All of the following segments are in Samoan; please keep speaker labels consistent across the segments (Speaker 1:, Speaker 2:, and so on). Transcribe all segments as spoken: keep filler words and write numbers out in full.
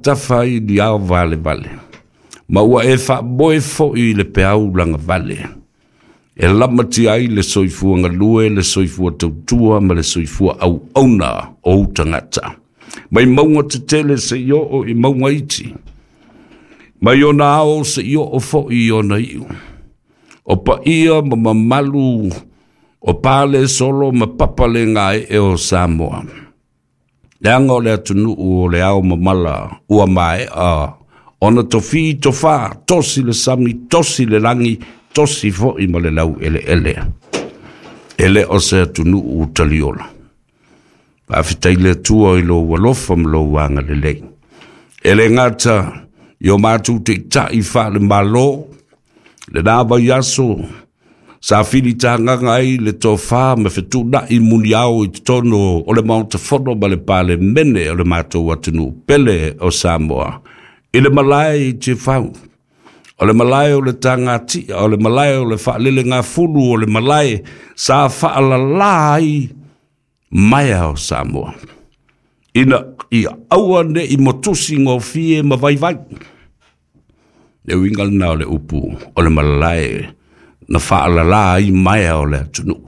Speaker 1: Tafa i ni ao vale vale. Ma ua e faamoe foi i le peau lagavale. E lamatia ai le soifua galue, le soifua tautua ma le soifua auauna o ou tagata. Mai mauga tetele seia oo i mauga iti. Mai ona ao seia oo foi i ona iu. O paia ma mamalu o pale solo ma papa le gaee o Samoa. Leaga o le atunuu o le ao mamala ua maea ona tofi tofa, tosi le sami, tosi le lagi, tosi foi ma le lau eleele. E le o se atunuu taliola. Faafetai le Atua i lou alofa ma lou agalelei. E le gata i o matou taitai faale-Malo, lena vaiaso sa filitagaga ai le tofa ma fetuunai muniao i totonu o le Maota Fono ma le Palemene o le matou atunuu pele o Samoa, i le malae i Tiafau, o le malae o le tagatia, o le malae o le faalelegafulu, o le malae sa faalalā ai maea o Samoa, ina ia aua ne i motusi gofie ma vaivai. Le uiga lena o le upu o le malae na faalalā ai maea o le atunuu.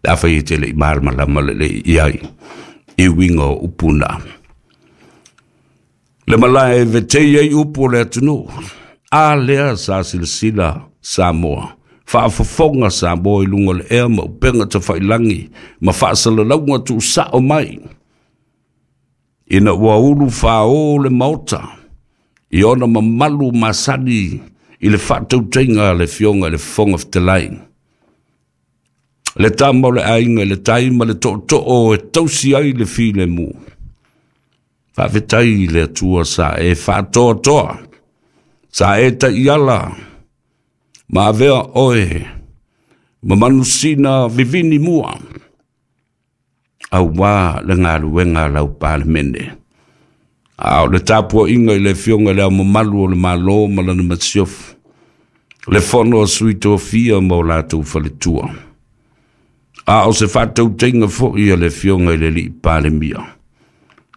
Speaker 1: Le afai e te le i malamalama lelei i ai i uiga o upu na. Le malae e vetei ai upu o le atunuu. A lea sa silasila Samoa. Faafofoga Samoa i luga o le ea ma upega tafailangi ma faasalalauga tuusao mai. Ina ua ulu fao le maota i ona mamalu masani i le faatautaiga a le Afioga i le Fofoga Fetalai. Le tama o le aiga i le tai ma le tootoo e tausi ai le filemu. Faafetai i le Atua sa e faatoatoa, sa e taiala, ma avea oe, ma manusina vivini mua, auā le galuega a lau Palemene. A o le tapuaiga i le Afioga i le Ao Mamalu o le Malo ma lana Masiofo, le Fono a Sui Tofia ma o latou faletua. A o se faatautaiga foi a le Afioga i le Alii Palemia,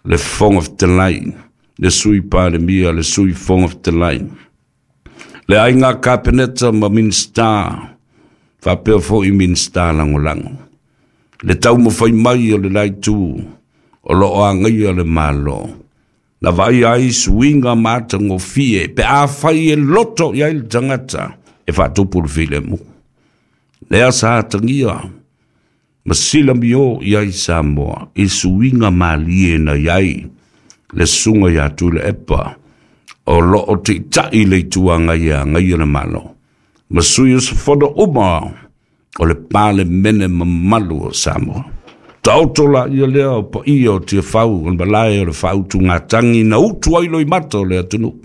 Speaker 1: le Fofoga Fetalai, le Sui Palemia, le Sui Fofoga Fetalai, le aiga Kapeneta ma Minisita, faapea foi Minisita Lagolago. Le taumafai mai o le la itu o loo agaia le Malo. Na vaai ai suiga matagofie pe afai e loto i ai le tagata e faatupu le filemu. Lea sa atagia ma silamio i ai Samoa i suiga malie na i ai le susuga ia Tuilaepa o loo taitai le itu agaia agaia le Malo. Ma sui usufono uma o le Palemene mamalu o Samoa. Taoto la ia lea o paia o Tiafau o le malae o le faautugatagi na utu ai loimata o le atunuu.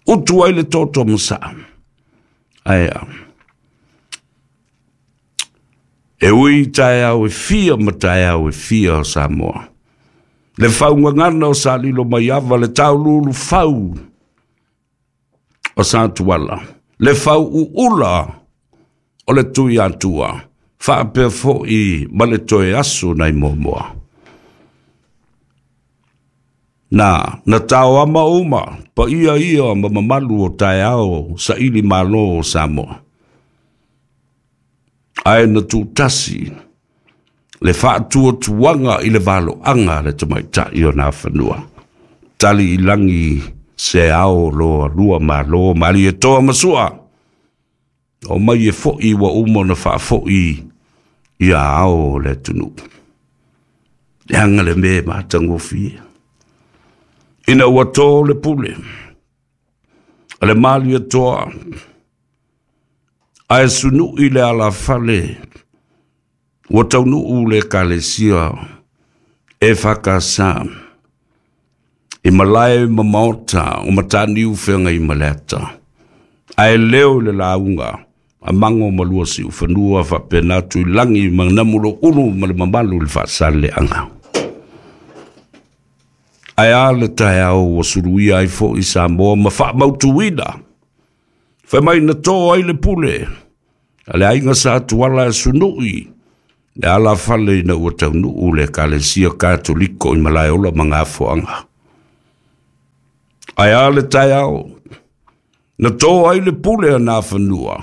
Speaker 1: Utu ai le toto masaa. Ae a. E ui taeao e fia ma taeao e fia o Samoa. Le faugagana o Salilo Maiava, le taululu fau o Satuala, le fau uula o le tui atua, faapea foi ma le toe aso nai muamua. Na, na taoama uma, paia ia ma mamalu o taeao saili malo o Samoa. Ae na tuutasi le faatuatuaga i le valoaga le tamaitai o Nafanua. Tali i lagi se ao loa lua malo Malietoa ma Sua. O mai e foi ua uma ona faafoi ia ao o le atunuu. Leaga le mea e matagofie. Ina ua tō le pule, a le Malietoa, ae sunui le alafale, ua taunuu le Ekalesia e whakasa, i malae ma maota o Mataniu Feagaimaleata. Ae leo i le lauga, a mango ma lua siufanua faapena Tuilagi ma Namulo ulu ma le mamalu i le faasaleaga. Ae a le taeao ua suluia ai foi Samoa ma faamautuina. Fai mai na tō ai le pule, a le aiga sa tuala e sunui, le alafale ina ua taunuu le Ekalesia Katoliko i Malaeola ma Gafoaga. Ae a le taeao, na tō ai le pule a nā fanua,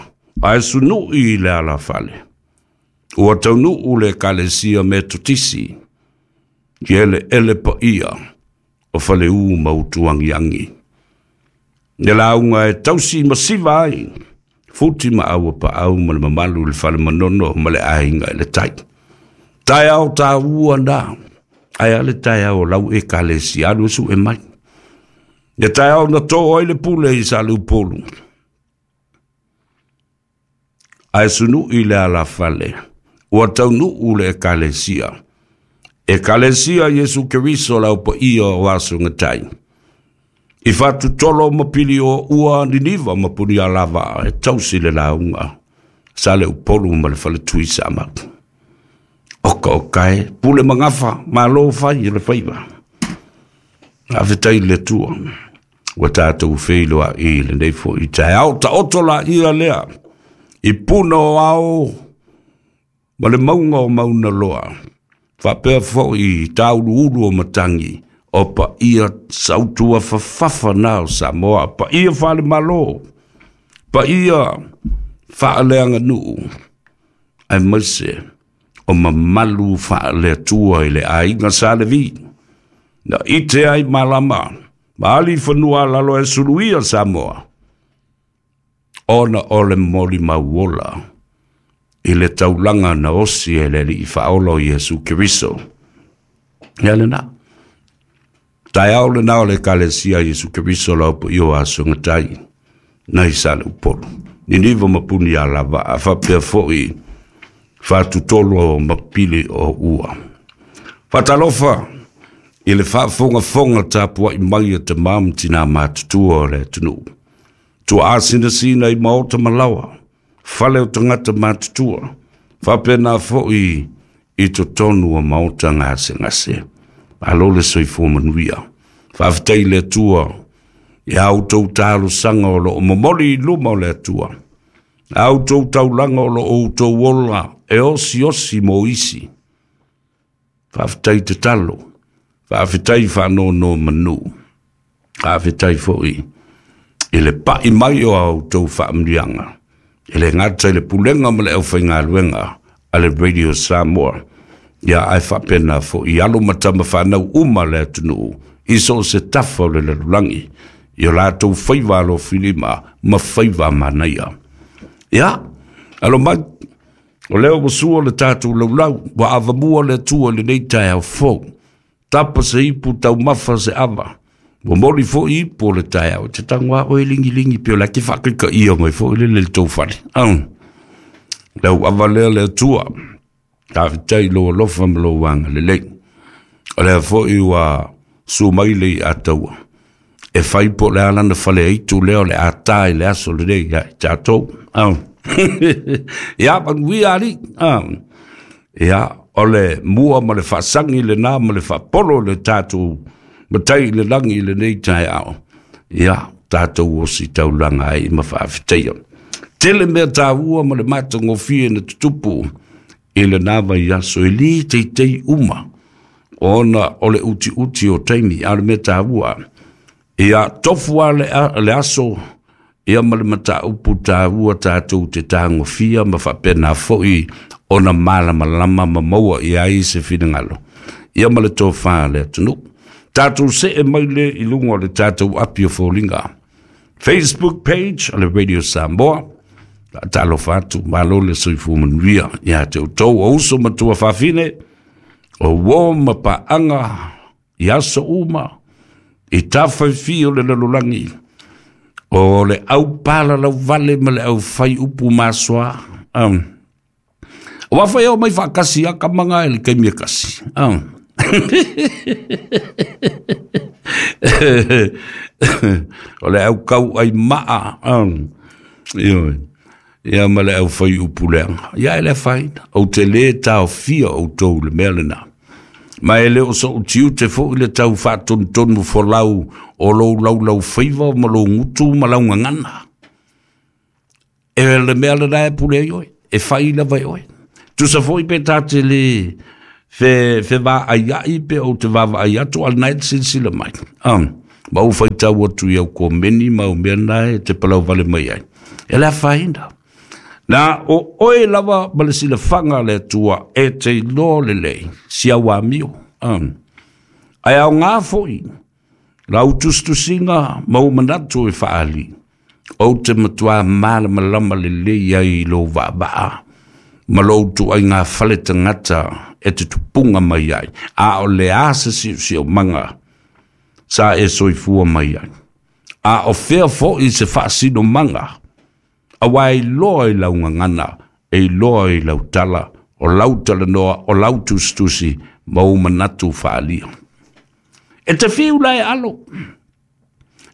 Speaker 1: ae sunu'i i le alafale. Ua taunuu le Ekalesia Metotisi, i eleele paia o Faleu ma Utuagiagi. Le lauga e tausi masiva ai, futi ma aua paau ma le mamalu i le fale manono ma le aiga i le tai. Taeao tāua nā, ae a le taeao o lau Ekalesia alu e su'e mai. Le taeao na tō ai le pule i Saleupolu, ae sunu'i le alafale, ua taunuu le Ekalesia. Ekalesia Iesu Keriso lau paia o aso gatai. I fatutolo ma pili o ua Niniva ma Punialavaa e tausi le lauga Saleupolu ma le faletui Samau. Oka oka e, pule magafa, malo fai i le faiva. Faafetai i le Atua, ua tatou feiloai i lenei foi taeao. Taoto laia lea i puna o ao ma le mauga o Maunaloa, faapea foi i tauluulu o matagi, o paia sautua fafafa na o Samoa, paia faale-Malo, paia faaleaganuu, aemaise o mamalu faale-Atua i le aiga Sa Levi. Na ite ai malama, ma ali fanua lalo e suluia Samoa, ona o le moli mauola, i le taulaga na osi e le Alii Faaola o Iesu Keriso. Ia lena. Taeao lena o le Ekalesia Iesu Keriso lau paia o aso gatai, nai Saleupolu. Niniva ma Punialavaa, faapea foi fatutolo ma pili o ua. Faatalofa i le faafogafoga tapuai mai a tamā ma tinā matutua o le atunuu. Tuaasinasina i maota ma laoa, fale o tagata matutua, faapena foi i totonu o maota gasegase. Malo le soifua manuia. Faafetai i le Atua i a outou talosaga o loo momoli i luma o le Atua. A outou taulaga o loo outou ola e osiosi mo isi. Faafetai tatalo, faafetai faanonomanu, faafetai foi i le pa'i mai o a outou faamanuiaga, e le gata i le pulega ma le aufaigaluega a le Radio Samoa, ia ae faapena foi i alo ma tama fanau uma le atunuu i so o se tafa o le lalolagi, i o latou faiva alofilima ma faiva manaia. Ia, alo mai, o lea ua sua le tatou laulau, ua avamua le Atua i lenei taeao fou. Tapa se ipu taumafa se ava, ua moli foi ipu o le taeao, e te tago a oe ligilingi pe o le ake faakaikaia mai foi le le tou fale. Lau ava lea le Atua, faafetai i lou alofa ma lou agalelei. O lea foi ua su mai le iataua, e fai po o le a lana fale aitu lea o le a ta i le aso lenei ia i tatou. Ia, manuia alii. Ia, o le mua ma le faasagi lena ma le faapolo le tatou matai i le lagi i lenei taeao. Ia, tatou osi taulaga ai ma faafetaia. Tele mea taua ma le matagofie na tutupu i lena vaiaso e lē teitei uma, ona o le utiuti o taimi, a o le mea taua. Ia, tofu a le, le aso, ia ma le mataupu taua tatou te tagofia ma faapena foi ona malamalama ma maua i ai se finagalo. Ia ma le tofā le atunuu. Tatou see mai le i luga o le tatou api o foliga. Facebook page o le Radio Samoa. Faatalofa atu, malo le soifua manuia ia te outou o uso ma tuafafine, o uo ma paaga i aso uma, i tafaifī o le lalolagi, o le aupalalauvale ma le aufai upu masoa. Um. Aua foi e omai faatasi a kamaga i le taimi e tasi. Um. O le aukau ai maa. Um. Ioe. Ia ma le aufai upu leaga. Ia e le afaina. Ou te lē taofia outou i le mea lenā. Ma e le o so'u tiute foi le tau faatonutonu folau o lou laulaufaiva ma lou gutu ma lau gagana. E le mea lenā e pule ai oe, e fai lava e oe. Tusa foi pe ta te lē fe fevaaia'i pe ou te vaavaai atu a o lenā e te silasila mai. Um, Ma ou faitau atu i au komeni ma au mea nae te palau vale mai ai. E le afaina. Na o oe lava ma le silafaga le Atua e te iloa lelei si au amio. Um. Ae aoga foi lau tusitusiga ma ou manatu e faaali, ou te matuā malamalama lelei ai i lou vaavaa ma lou tuaiga fale tagata e te tupuga mai ai, a o le a se siosiomaga sa e soifua mai ai, a o fea foi se faasinomaga, auā e iloa i lau gagana, e iloa i lau tala, o lau talanoa, o lau tusitusi ma ou manatu faaalia. E te fiu la e alo.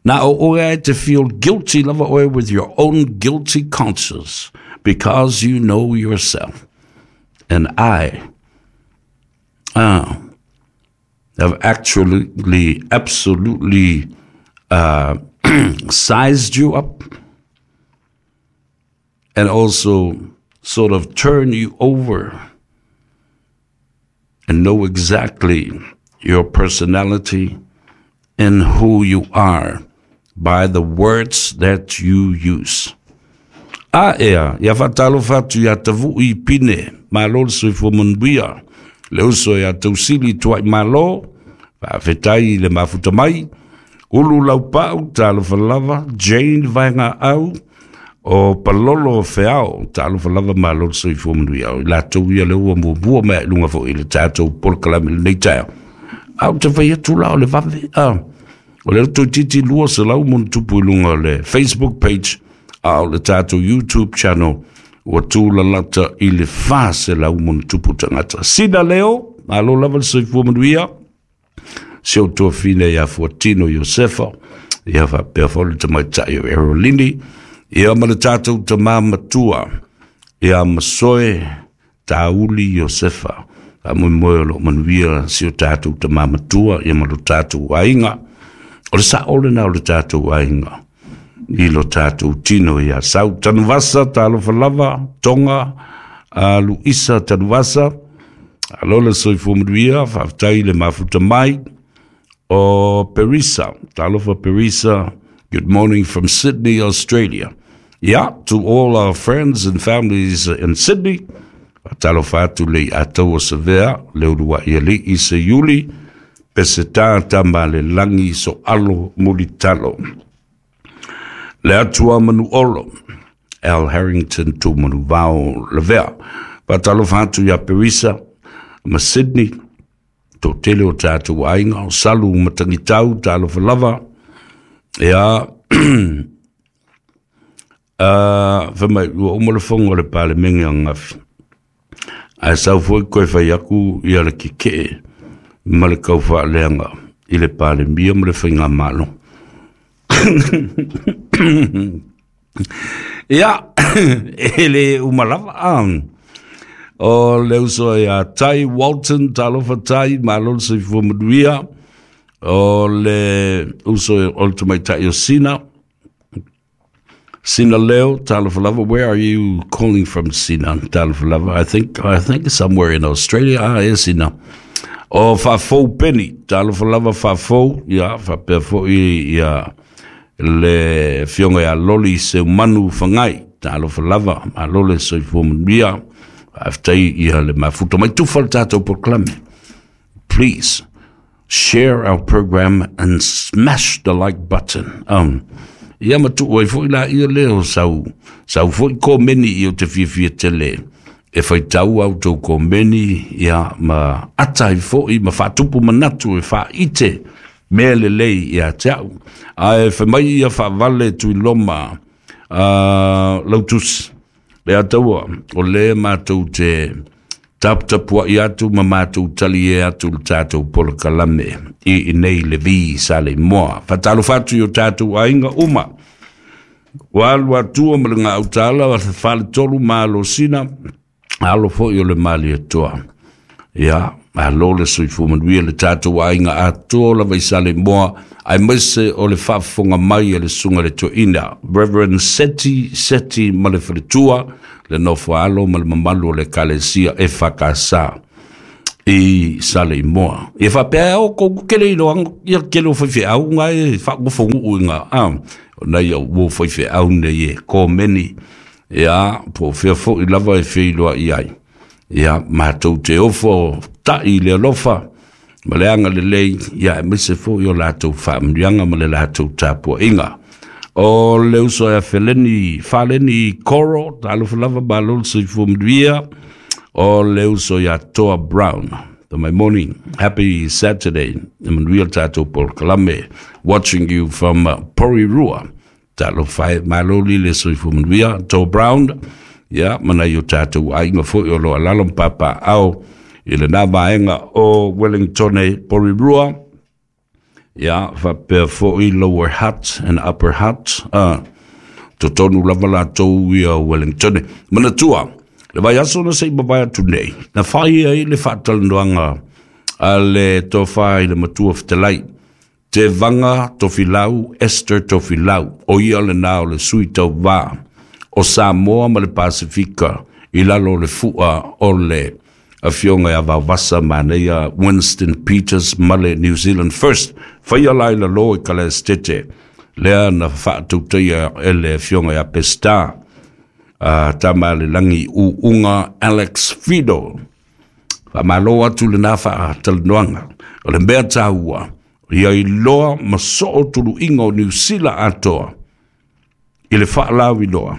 Speaker 1: Na o oe e te feel guilty lava oe with your own guilty conscience because you know yourself. And I uh, have actually, absolutely uh, sized you up and also sort of turn you over and know exactly your personality and who you are by the words that you use. A ea, ia faatalofa atu iā Tavuʻi Pine, malo le soifua manuia, le uso ia Tausili Tuai Malo, faafetai i le mafuta mai, Ulu Laupau, talofa lava, Jane Vaegaau, o Palolo Feao, talofa lava, malo le soifua manuia. O i latou ia lea ua muamua mai i luga foi i le tatou polokalame i lenei taeao. A ou te fai atu la o le vave, a o lea toeitiiti lua selau ma ona tupu i luga o le Facebook page, a o le tatou YouTube channel ua tulalata i le fa selau ma ona tupu tagata. Sina Leo, malo lava le soifua manuia, si ou tuafine ia Fuatino Iosefa, ia faapea foi le tamaitai o Erolini, ia ma le tatou tamā matua ia Masoe Tauli Iosefa. Faamoemoe o loo manuia si o tatou tamā matua ia ma lo tatou aiga. O le sao lena o le tatou aiga i lo tatou tino ia Sau Tanuvasa, talofa lava, Tonga, a Luisa Tanuvasa, alo le soifua manuia, faafetai le mafuta mai. O Perisa, talofa Perisa, good morning from Sydney, Australia. Yeah, to all our friends and families in Sydney, talofa atu le ataua savea, le uluai alii se iuli, Peseta tama le lagi so alo mulitalo. Le atua manu olo, Al Harrington tu manu vao lavea. Faatalofa atu ia Perisa ma Sydney, to tele o tātou aiga, o Salu Matagitau, talofa lava. Ia, uh, fai mai, ua uma le fono a le Palemene ananafi. Ae sau foi koe fai aku ia le kekee ma le kaufaaleaga i le Palemia ma le Faigamalo. Ia, e le uma lava. O le uso ia Tai Walton, talofa Tai, malo le soifua manuia. O le uso o le tamaitai o Sina, Sina Leo, talofa lava. Where are you calling from, Sina? Talofa lava. I think, I think somewhere in Australia. Ah, yes, Sina. O Faafou Peni, talofa lava Faafou, ia, faapea foi ia le afioga ia Loli Seumanu Fagai, talofa lava, malo le soifua manuia, faafetai ia le mafuta mai tufa le tatou polokalame. Please share our program and smash the like button. Um, ia ma tuu ai foi la ia lea o sau, sau foi komeni i o te fiafia tele e faitau au tou komeni, ia ma ata ai foi ma faatupu manatu e faaite mea lelei ia te au. Ae fai mai ia faavale Tuiloma uh, Lautusi, le ataua o le matou te taputapuai atu ma matou talie atu le tatou polokalame i inei le vi sa le moa. Faatalofa atu i o tatou aiga uma. Ua alu atua ma le gautala wa faletolu malosina, alo foi o le Malietoa. Ia, malo le soifua manuia le tatou aiga atoa lava i Saleimoa, aemaise o le faafofoga mai a le susuga le toeaina Reverend Seti Seti ma le faletua, le nofo alo ma le mamalu o le Ekalesia E F K S. I Saleimoa. Ia faapea o kou kele i loa ia kele o faifeau ngai e faagofogu'u i ga a ona ia ua faifeau nei e komeni ia po o fea fo'i lava e feiloa'i ai ia matou te ofo ta'i le alofa ma le agalelei ia aemaise fo'i o latou faamanuiaga ma le latou tapua'iga. O le uso ia Feleni Faleni Koro, talofa lava, malo le soifua manuia. O le uso ia Toa Brown, the my morning, happy Saturday, e manuia le tatou polokalame, watching you from uh, Porirua. Talofa e, malo li le soifua manuia, Toa Brown, ia ma nai o tatou aiga fo'i o lo alalo ma papaao i lenā vaega o Wellingtone, Porirua, ia faapea fo'i Lower Hutt and Upper Hutt, uh, totonu lava latou ia Wellingtone. Manatua, le vaiaso na se'i mavae atu nei, na fai ai le faatalanoaga a le tofa i le matua fetalai, Tevaga Tofilau Esther Tofilau, o ia lenā o le sui tauvā o Samoa ma le Pasifika i lalo o le fu'a o le afioga ia Vaovasa Manaia Winston Peters ma le New Zealand First. Faia la i lalō i Kalaestete, lea na faatautaia e le afioga ia Peseta uh, Tamalelagi U'uga Alex Fido. Faamālō atu lenā faatalanoaga. O le mea tāua, ia iloa ma soo tuluiga o Niusila atoa i le faalauiloa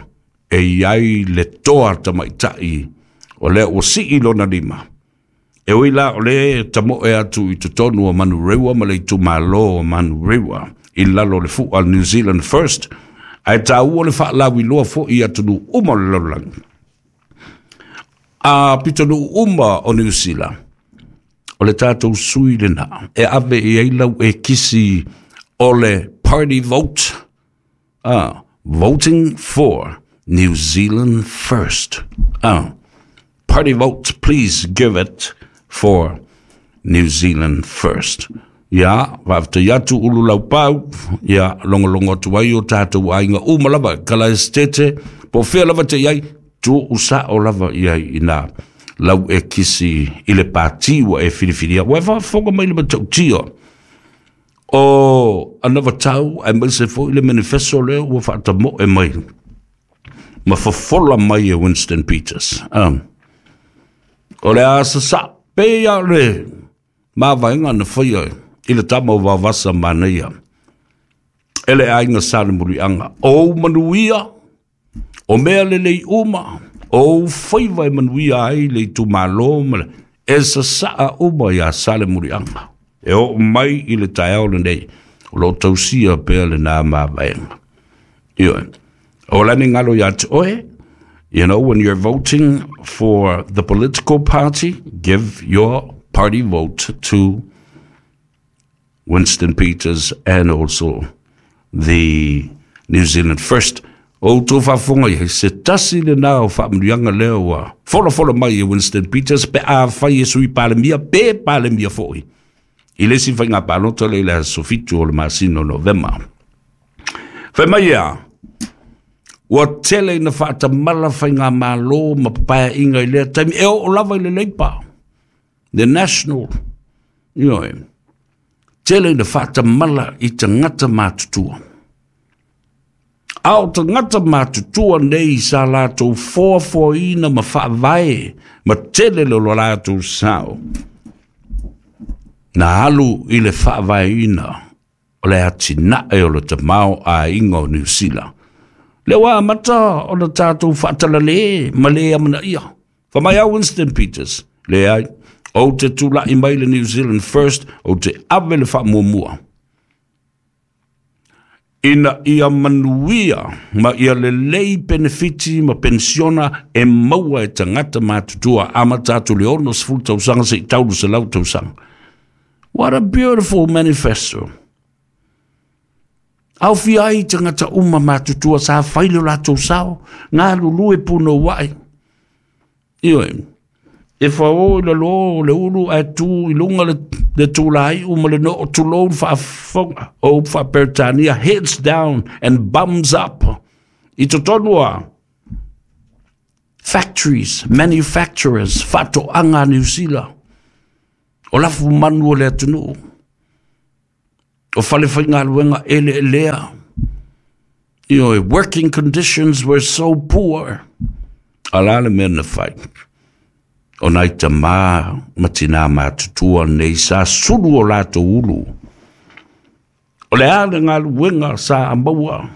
Speaker 1: e iai le toa tamaita'i o lea ua sii lona lima. E ui la o le tamo'e atu i totonu o Manurewa ma le itumālō o Manurewa i lalo o le fu'a New Zealand First, ae tāua le faalauiloa fo'i atunuu uma o le lalolagi. A pitonuu uma o Niu Sila, o le tatou sui lenā e ave i ai lau e kisi o le party vote, ah, voting for New Zealand First. Ah, party vote, please give it for New Zealand First. Ia, faafetai atu ulu laupau, ia logologo atu ai o tatou aiga uma lava, kala estete, po fea lava te iai, tu'u sa'o lava i ai inā lau e kisi i le pati ua e filifilia. Ua e faafofoga mai le matautia o anavatau aemaise fo'i le manifesto lea ua faatamo'e mai ma fofola mai e Winston Peters. Um, o le a sasa'o pei a le mavaega na faia i le tama o Vaovasa Manaia e le aiga Salemuliaga. O ou manuia, o mea lelei uma, o ou faiva e manuia ai le itumālō ma le e sasa'a uma iā Salemuliaga. E oo mai i le taeao lenei, o loo tausia pea lenā mavaega. Ioe. O lani galo iā te oe, you know, when you're voting for the political party, give your party vote to Winston Peters and also the New Zealand First. O outou faafofoga i ai, se tasi lenā o faamanuiaga lea ua folafola mai e Winston Peters pe afai e sui palemia pe palemia fo'i i le isi faiga palota lea i le aso fitu o le masina o Novema. Fai mai ia, ua tele ina faatamala faigamālō ma papaea'iga i lea taimi e oo lava i le Labour, the National, ioe, tele ina faatamala i tagata matutua. A o tagata matutua nei sa latou foafoaina ma faavae ma tele le lo latou sao na alu i le faavaeina o le atina'e o le tamaoaiga o Niu Sila. Lea ua amata ona tatou faatalalē ma lē amanaia. Fai mai a Winston Peters, leai, ou te tula'i mai le New Zealand First, ou te ave le faamuamua ina ia manuia ma ia lelei penefiti ma penisiona e maua e tagata matutua amata atu le ono sefulu tausaga se'i taulu selau tausaga. What a beautiful manifesto. Aofia ai tagata uma matutua sa fai le o latou sao, galulue punoua'i. Ioe. E fao i lalō o le ulu ae tū i luga le, le tulāi'u ma le noo tulou le faafofoga o upu faa-Peretania, heads down and bums up. I totonu a factories, manufacturers, faatoaga a Niu Sila. O lafu manu o le atunuu. O fale faigaluega eleelea. You know, working conditions were so poor. A la le mea na fai. O nai tamā ma tinā matutua nei sa sulu o latou ulu. O le a le galuega sa maua.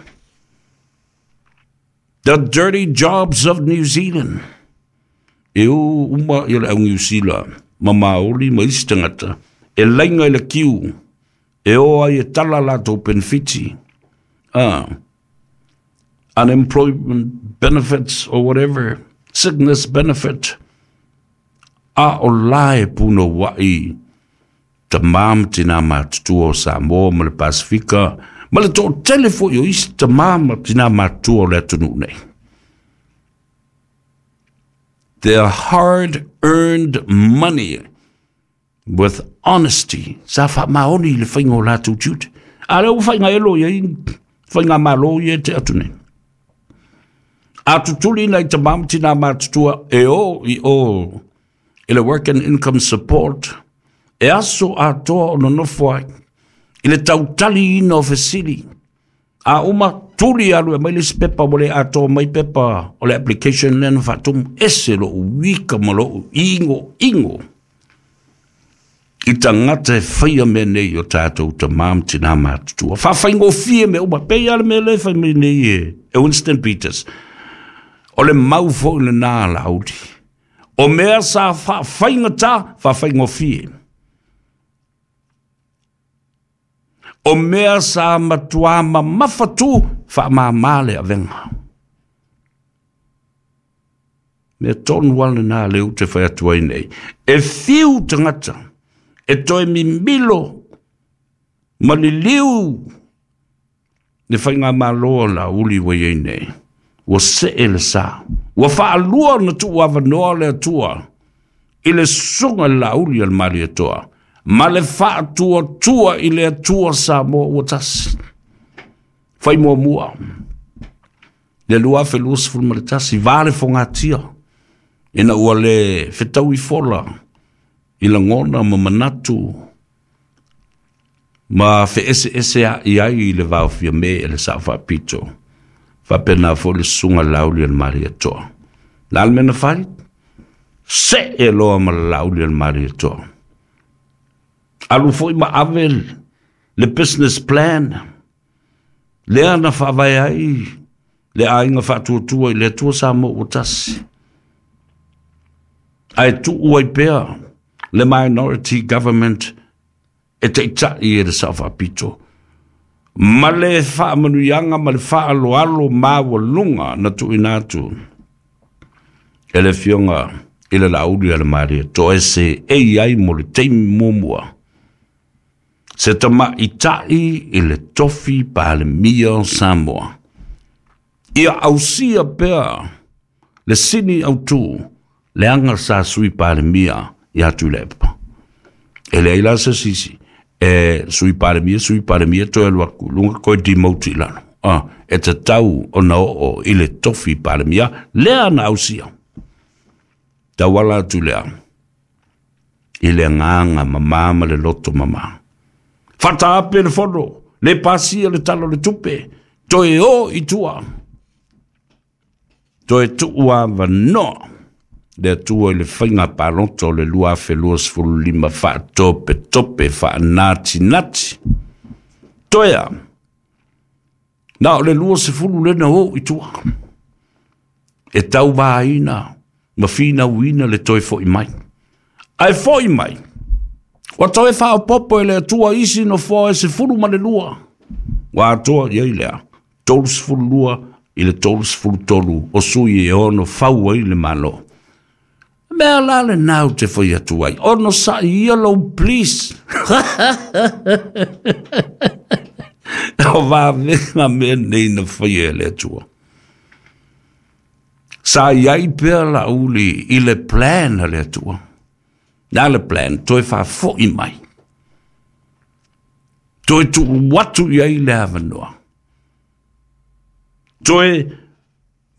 Speaker 1: The dirty jobs of New Zealand. E o uma i le au New Zealand, ma Maori ma isi tagata, e laina i le kiu, e o ai e tala latou penefiti. Ah, unemployment benefits or whatever, sickness benefit. A o la e punouai tamā ma tinā matutua o Samoa ma le Pasifika, ma le toatele foi o isi tamā ma tinā matutua o le atunuu nei. Their hard-earned money with honesty. Sa faamaoni i le faiga o latou tiute. A lea ua faiga elo iai, faiga malo ia te atu nei. A tutuli nai tamā ma tinā matutua e o i o i le work and income support, e aso atoa o nonofo ai, i le tautali ina o fesili. A uma tuli alu e mai le isi pepa ua le atoa mai pepa o le application lea na faatumu, ese lou wika ma lou igo igo. I tagata e faia mea nei o tatou tamā ma tinā matutua. Faafaigofie mea uma, pei lava le mea lea e fai mai nei e, e Winston Peters. O le mau foi lenā a Laauli. O mea sa faafaigata, faafaigofie. O mea sa matuā mamafatu, faamāmā le avega. Mea tonu lava lenā lea ou te fai atu ai nei. E fiu tagata, e toe mimilo ma liliu le faigamalo a Laauli ua i ai nei. Ua see le sa. Ua faalua ona tuuavanoa le Atua i le susuga i le Laauli a le Malietoa, ma le faatuatua i le Atua Samoa ua tasi. Fai muamua, le lua afe luasefulu ma le tasi, va le fogatia, ina ua le fetaui fola i lagona ma manatu ma feeseese ai ai i le vaofia me e le Sao Faapito. Faapena foi le susuga Laauli a le Malietoa. La le mea na fai? See loa ma le Laauli a le Malietoa. Alu foi ma ave le business plan lea na faavae ai le aiga faatuatua i le Atua Samoa ua tasi. Ae tuu ai pea le minority government e taitai e le Sao Faapito. Ma le faamanuiaga ma le faaloalo maualuga na tuuina atu e le Afioga i le Laauli a le Malietoa e seei ai mo le taimi muamua. Se tamaʻitaʻi i le tofi Palemia o Samoa. Ia ausia pea le sini autū leaga sa sui Palemia ia Tuilaepa. E leai la se sisi e sui Palemia, sui Palemia toe alu atu i luga koe demote i lalo. Ah, e tatau ona oo i le tofi Palemia lea na ausia. Tauala atu lea i le agaga mamā ma le loto mamā. Faataape le fono, le pasia le tala o le tupe, toe o i tua. Toe tuu avanoa le Atua i le faiga palota o le lua afe luasefulu lima faatopetope faanatinati. Toe a, na o le luasefulu lea na o i tua. E tauvaina ma finauina le toe foi mai. Ae foi mai, ua toe faaopoopo e le Atua isi nofoa e sefulu ma le lua. Ua atoa i ai lea, tolusefulu lua i le tolusefulu tolu o sui e ono fau ai le Malo. Mea la lenā ou te fai atu ai, onosaʻi ia lou please. O vavega mea nei na faia e le Atua. Sa i ai pea Laauli i le plan a le Atua. Na le plan, toe faafoʻi mai. Toe tuu atu i ai le avanoa. Toe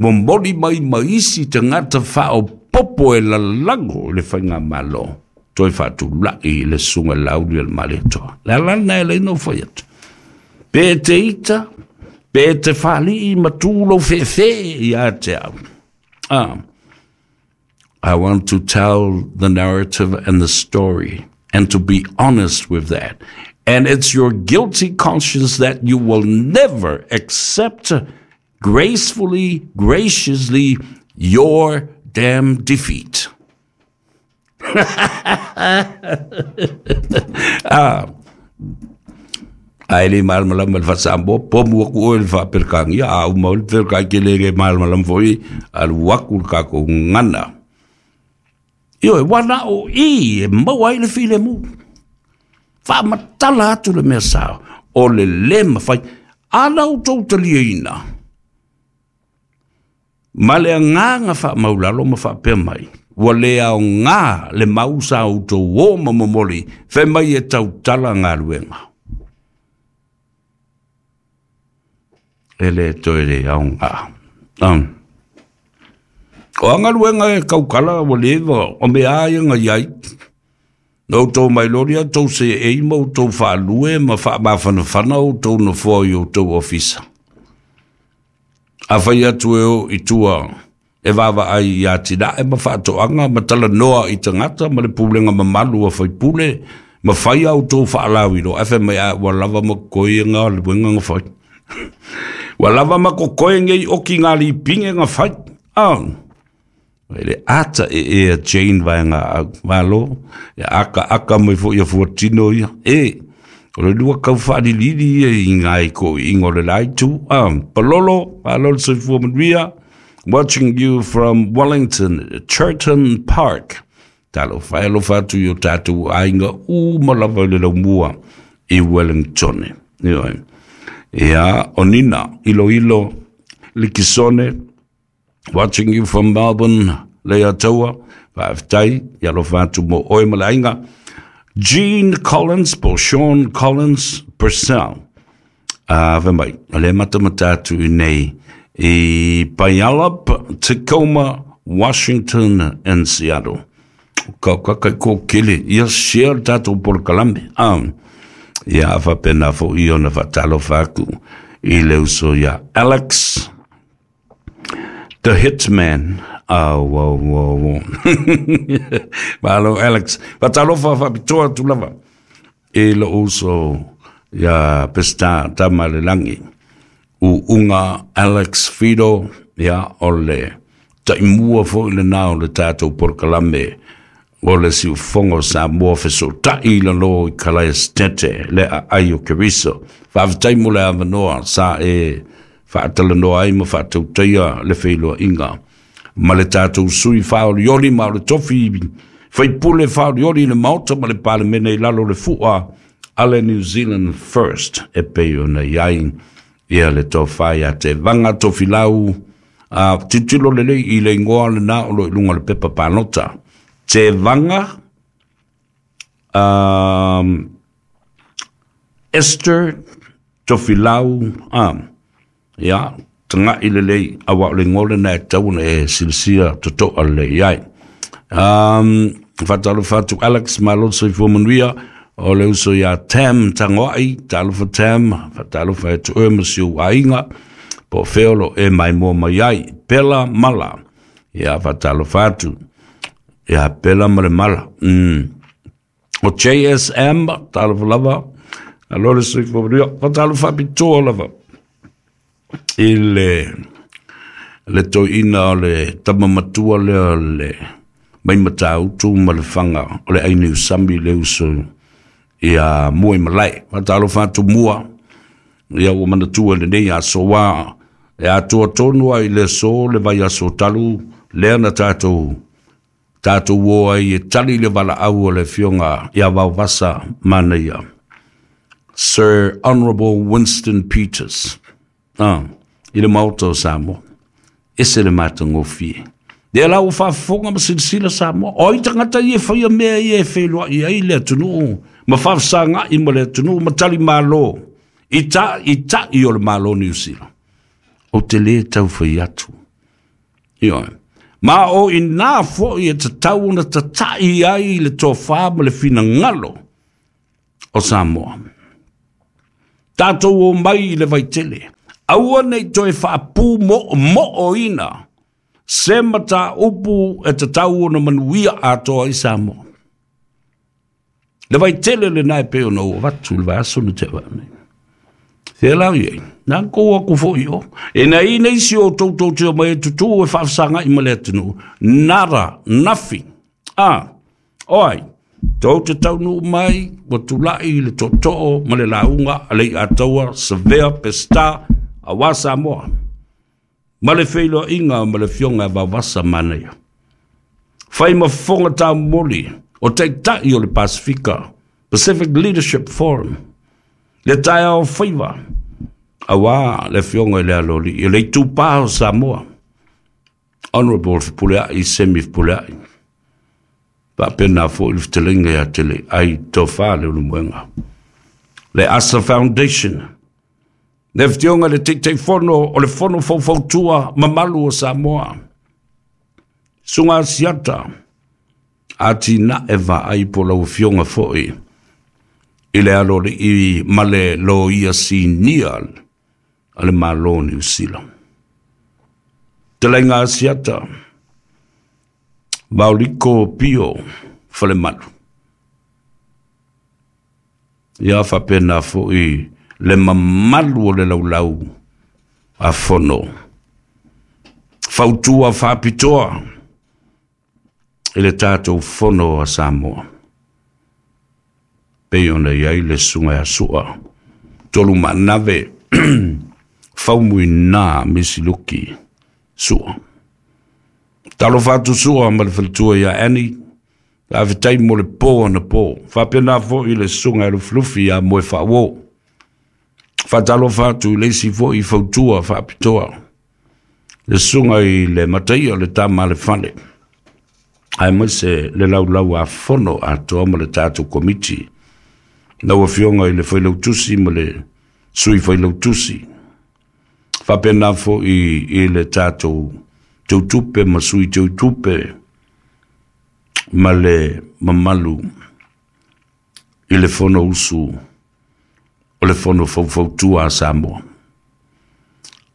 Speaker 1: momoli mai ma isi tagata faaopoopo e lalago i le faigamalo. Toi faatula'i i le susuga i le Laauli a le Malietoa. Le ala lena e ala ai ona ou fai atu. Pe e te ita, pe e te faalii ma tu lou feefee ia te au. Ah. I want to tell the narrative and the story and to be honest with that. And it's your guilty conscience that you will never accept gracefully, graciously, your damn defeat. Ah. Ae le malamalama le faasamoa, pomu aku oe le faaperekāgia, a uma o le perekai ke le le malamalama foi, alu aku le kākou gagana. Ioe, ua na o i e maua ai le filemu. Faamatala atu le mea sao, o le lē mafai. A na outou taliaina ma le agaga faamaulalo ma faapea mai, ua le aogā le mau sa outou o ma momoli, fai mai e tautala galuega. E lē toe le aogā. Um. O a galuega e kaukala ua leva, o mea a ia ga iai. Na outou mailoli a tou seei ma outou faalue ma faamafanafana outou nofoa i outou ofisa. Afai atu e o i tua e vaavaai iā tinae ma faatoaga ma talanoa i tagata ma le pulega mamalu a faipule ma fai a outou faalauiloa, ae fai mai a ua lava ma kokoe galuega ga fai. Ua lava ma kokoe nei oki ngā lipige ga fai. Ah. E le ata e e a Jane vaega au malo, e aka aka mai foi ia fuatino ia. E, o le lua kau whaalilili ia i ngai ko ingo le laitu. Ah, palolo, palolo soifua manuia, watching you from Wellington, Churton Park. Talofa e alofa atu i o tātou aiga uma lava i le laumua i Wellington. Ioe. Ia, o Nina, ilo ilo, Likisone, watching you from Melbourne, Lea Taua, faafetai, ia alofa atu mo oe ma le aiga. Jean Collins, po Sean Collins Purcell. Uh, fai mai, o le matamata atu i nei i Puyallup, Tacoma, Washington and Seattle. Ka ka kai ko kele, ia share tātou polokalame. Ah, ia faapena foʻi ona faatalofa atu i le uso ia Alex the Hitman. Oh, wow, wow, wow. Malo Alex. Faatalofa faapitoa atu lava i lou uso ia Pesita Tamalelagi. U'uga Alex Fido, ia o le taimua foʻi lenā o le tatou polokalame o le siufogo Samoa fesoʻotaʻi i lalō i Kalaia Setete le aai o Keriso. Faafetai mo le avanoa sa e faatalanoa ai ma faatautaia le feiloaiga ma le tatou sui faaolioli ma o le tofi faipule faaolioli i le Maota ma le Palemene i lalo le fu'a a le New Zealand First e pei ona i ai ia le tofā ia Tevaga Tofilau. A tilotilo lelei i le igoa lenā o lo i luga o le pepa palota. Tevaga um, Esther Tofilau um, ia tagaʻi lelei auā o le igoa lenā e tau ona e silasila totoa lelei ai. Um, faatalofa atu Alex, malo le soifua manuia. O le uso iā Tam Tagoaʻi, talofa Tam, faatalofa e tuʻe ma si ou aiga po o fea o loo e maimoa mai ai. Pela Mala, ia faatalofa atu ia Pela ma le Mala. Mm. O J S M, talofa lava, alo le soifua manuia. Faatalofa faapitoa lava i le le toeaina o le tama matua lea o le mai Matautu ma Lefaga o le Ainiusami, le uso ia Mua i Malae. Faatalofa atu Mua, ia ua manatua lenei aso ā e atoa tonu ai le aso le vaiaso talu lea na tatou tatou o ai e tali le valaau o le afioga ia Vaovasa Manaia, Sir Honourable Winston Peters, ah, i le Maota o Samoa. Ese le matagofie. Lea la ua faafofoga ma silasila Samoa. O ai tagata ia e faia mea ia e feiloai ai le atunuu ma faafesagaʻi ma le atunuu ma tali malo i ta i taʻi o le Malo Niu Sila? Ou te lē tau fai atu. Ioe. Ma o ina fo'i e tatau ona tata'i ai le tofā ma le finagalo o Samoa. Tatou o mai i le vaitele, aua nei toe faapu mo'omo'oina se mataupu e tatau ona manuia atoa i Samoa. Le vaitele lenā e pei ona ou avatu i le vaiaso na tea nei. Se lau iai, na kou aku fo'i o. E na i nei si o toutou te o mai e tutū e faafesagai ma le atunuu. Nada, nothing. Ah, oi, tou te taunuu mai, ua tula'i le tootoo ma le lauga a le Iataua Savea Peseta auā Samoa. Ma le feiloaiga ma le Afioga e Vaovasa Manaia. Fai ma fofoga taumoli o Taitai o le Pasifika, Pacific Leadership Forum, le taeao faiva, auā le Afioga i le Aloalii, le Itupā o Samoa, Honorable Fepuleai Semi Fepuleai, faapena fo'i le fetalaiga ia te le ai Tofā Leulumoega. Le Asa Foundation, le Afioga i le Taitaifono o le Fono Faufautua Mamalu o Samoa, Susuga Asiata, Atinae Vaai po lau Afioga fo'i i le Aloalii ma le Loia Sinia a le Malo o Niu Sila. Talaiga Asiata, Vaoliko Pio Falemalu. Ia faapena fo'i le mamalu o le laulau a fono. Fautua faapitoa i le tatou fono a Samoa. Pei ona i ai le susuga ia Sua Tolu Maanave Faumuina Misiluki Sua. Talofa atu Sua ma le faletua ia Annie, faafetai mo le pō ana pō. Faapena fo'i le susuga e Lufilufi ia Moe Faauo. Faatalofa atu i le isi fo'i fautua faapitoa, le susuga i le Mataia o le Tama a le Fale, aemaise le laulau a fono atoa ma le tatou komiti. Lau Afioga i le Failautusi ma le Sui Failautusi. Faapena fo'i i le tatou teutupe ma sui teutupe ma le mamalu i le fono usu o le Fono Faufautua a Samoa.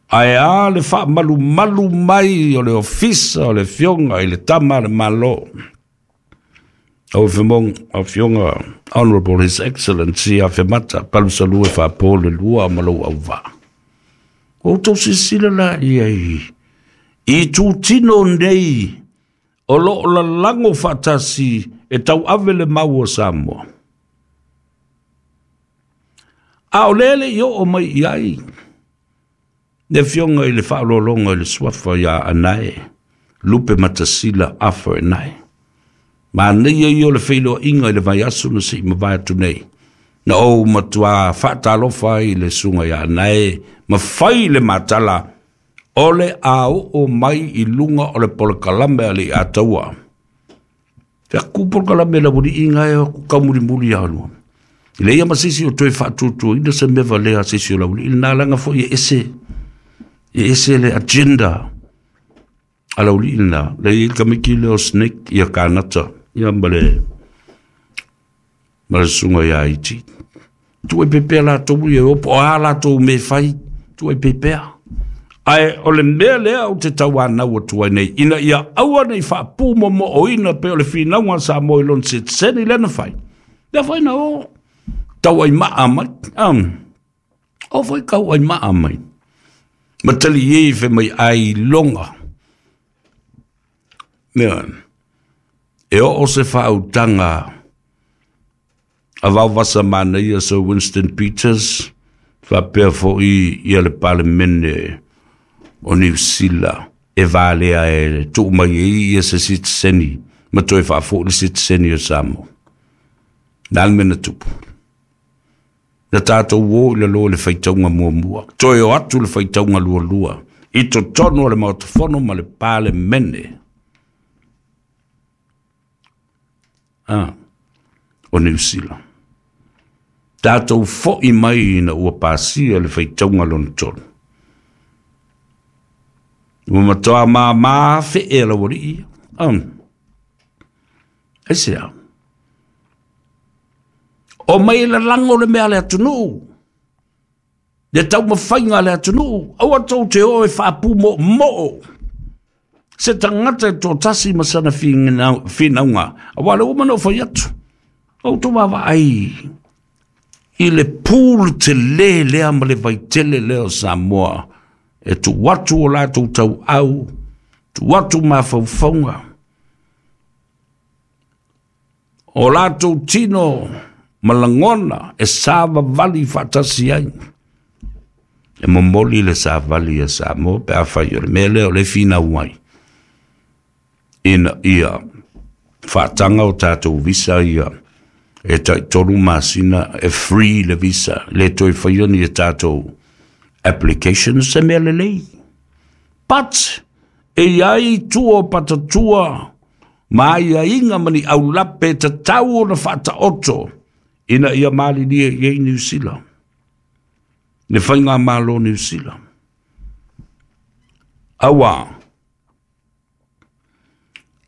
Speaker 1: Ae a le faamalumalu mai o le ofisa o le Afioga i le Tama a le Malo, Au Afioga Honorable His Excellency Afemata Palusalua Faapo le lua ma lou auvaa. Ua outou silasila la i ai i itutino nei o loo lalago faatasi e tauave le mau o Samoa. A o lea le i oo mai i ai le Afioga i le faaaloaloga i le suafa ia Anae Lupe Matasila Afa Anae. Manaia ia o le feiloaiga i le vaiaso na se'i mavae atu nei. Na ou matuā faatalofa ai i le susuga ia Anae ma fai le matala o le a oo mai i luga o le polokalame a le Iataua. Fe aku polokalame la ualiiga e aku kaumulimuli ia lua. I leia ma se isi o toe faatuatuaina se mea valea a se isi o le aualii lenā laga fo'i e ese, e ese le agenda a le aualii lenā. Le i ai le tamaiti lea o Snake ia Kanata ia ma le ma le susuga ia Iti. Tuu ai pea latou ia e o po o a latou mea e fai, tuu ai pea. Ae o le mea lea ou te tauanau atu ai nei, ina ia aua nei faapumoomooina pei o le finauga a Samoa i lona sitiseni lea na fai. Lea foi na o tauaimaa mai. Um, o foi tauaimaa mai. Ma tali e fe mai ailoga. Mea, e oo se faautaga a Vaovasa Manaia Sir Winston Peters, faapea fo'i ia le Palemene o Niu Sila e valea e tuu mai ai ia se sitiseni ma toe faafo'i le sitiseni o Samoa. Na le mea na tupu. Na tatou o i lalo i le faitauga muamua, toe o atu le faitauga lualua i totonu o le Maota Fono ma le Palemene ah, o Niu Sila. Tatou fo'i mai ina ua pasia le faitauga lona tolu. Ua matoa māmā feʻe a laualiʻi ia. Um. Aisea? O mai lalago le mea a le atunuu, le taumafaiga a le atunuu, aua tou te o e faapumoomoo se tagata e toatasi ma sana finauga, auā le uma na ou fai atu, outou vaavaai i le pool telē lea ma le vaitele lea o Samoa e tuu atu o latou tauau, tuu atu mafaufauga, o latou tino ma lagona e savavali faatasi ai. E momoli le savali a Samoa pe afai o le mea lea o le finau ai ina ia faataga o tatou visa ia e taitolu masina e free le visa, le toe faia ni e tatou applications, se mea lelei. But e iai tua o patatua ma aiaiga ma ni aulape e tatau ona faataoto ina ia malilie i ai Niu Sila, le faigamalo Niu Sila. Auā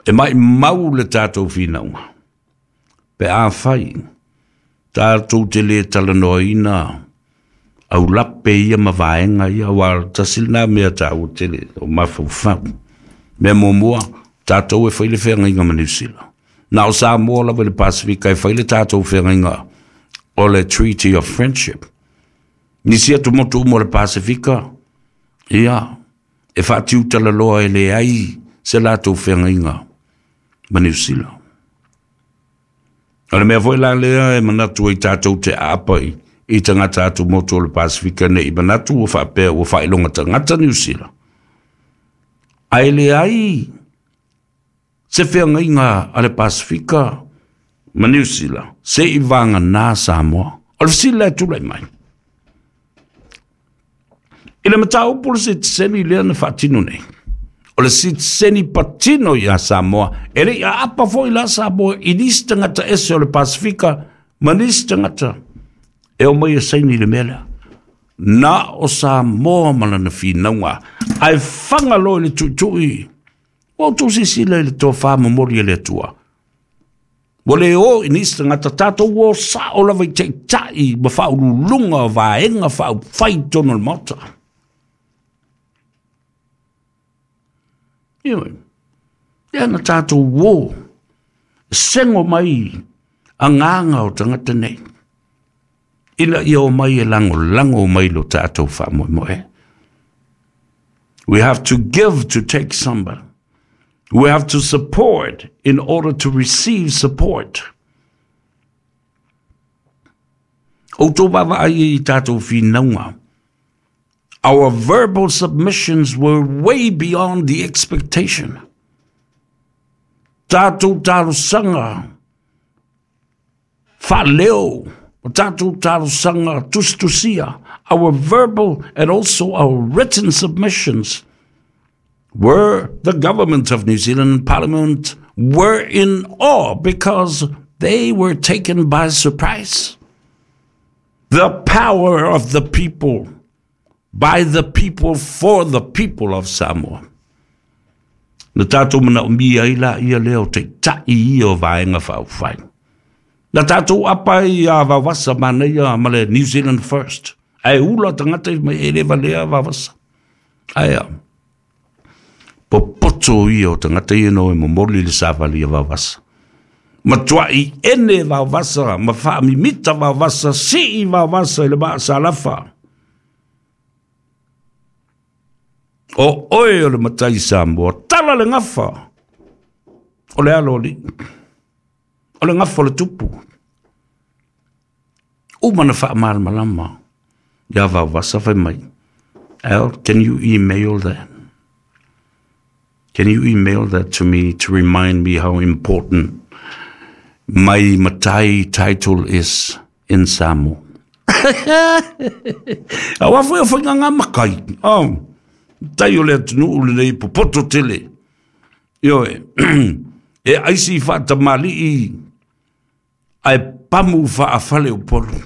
Speaker 1: e maʻimau le tatou finauga pe afai tatou te lē talanoaina aulape ia ma vaega ia, auā tasi lenā mea taua tele o mafaufau. Mea muamua, tatou e fai le feagaiga ma Niu Sila. Na o Samoa lava i le Pasefika e fai le tatou feagaiga o le Treaty of Friendship. Nisi atumotu uma o le Pasefika, ia, e faatiutalaloa e leai se latou feagaiga ma Niu Sila. O le mea foi la lea e manatu ai tatou te aapa i, i tagata atumotu o le Pasefika nei manatu ua faapea ua faailoga tagata Niu Sila. Ae leai se feagaiga a le Pasefika ma Niu Sila se i vaganā Samoa. O le fesili la e tulai mai i le mataupu le sitiseni lea na faatino nei, o le sitiseni patino iā Samoa, e le i aapa foi la Samoa i nisi tagata ese o le Pasefika ma nisi tagata e omai e saini i le mea lea. Na o Samoa ma lana finauga, ae faga loa i le tuitui. Ua outou silasila i le tofa momoli e le Atua. Ua le o i nisi tagata, tatou o sao lava i taitai ma faauluuluga o vaega faaupufai i totonu o le Maota. Ioe, lea na tatou o, sego mai agaga o tagata nei, ina ia omai e lagolago mai lo tatou faamoemoe. We have to give to take somebody. We have to support in order to receive support. Outou vaavaai i tatou finauga. Our verbal submissions were way beyond the expectation. Tatou talosaga faaleo, o tatou talosaga tusitusia, our verbal and also our written submissions were the government of New Zealand and Parliament were in awe because they were taken by surprise. The power of the people, by the people, for the people of Samoa. Na tatou manaomia ai laia lea o taitai ia o vaega faaupufai. Na tatou apa ai ia Vaovasa manaia ma le New Zealand First. Ae ula tagata mai e le valea Vaovasa. Ae a, popoto ia o tagata ia no e momoli le savali a Vaovasa. Matuai ene Vaovasa, ma faamimita Vaovasa, sii Vaovasa i le maasalafa. O oe o le matai Samoa, tala le gafa o le alo o alii, o le gafa o le tupu. Uma na faamalamalama ia Vaovasa fai mai, Al, can you email that? Can you email that to me to remind me how important my matai title is in Samoa? Aua foi o faiga ngā makai. Oh, tai o le atunuu lenei popoto tele. Ioe, e aisi faatamali'i ae pamu faafale o polo.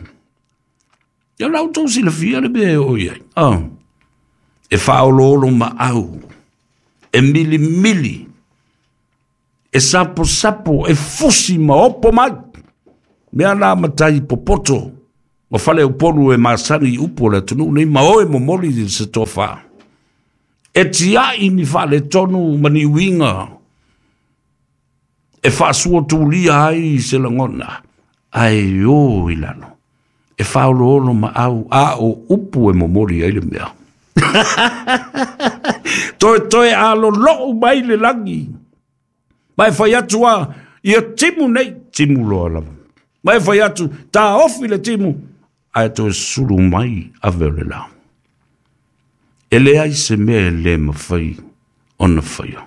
Speaker 1: Ia la outou silafia le mea e oo i ai. Oh, e faaoloolo maau E mili mili, e sapo sapo, e fusi ma opo mai. Mea la matai popoto, o fale upolu e masani upo le tunu nei ma oe momoli i se tofa. E tiai ni fale tonu mani uinga, e faasua tulia ai se lagona, ae o i lalo, e faoloolo ma au, a o upu e momoli ai le mea. Toe toe alo lou mai le lagi, ma e fai atu a, ia timu nei, timu loa lava. Ma e fai atu, tā ofi le timu, ae toe sulu mai ave o le la. E le ai se mea e le mawhai ona whaia.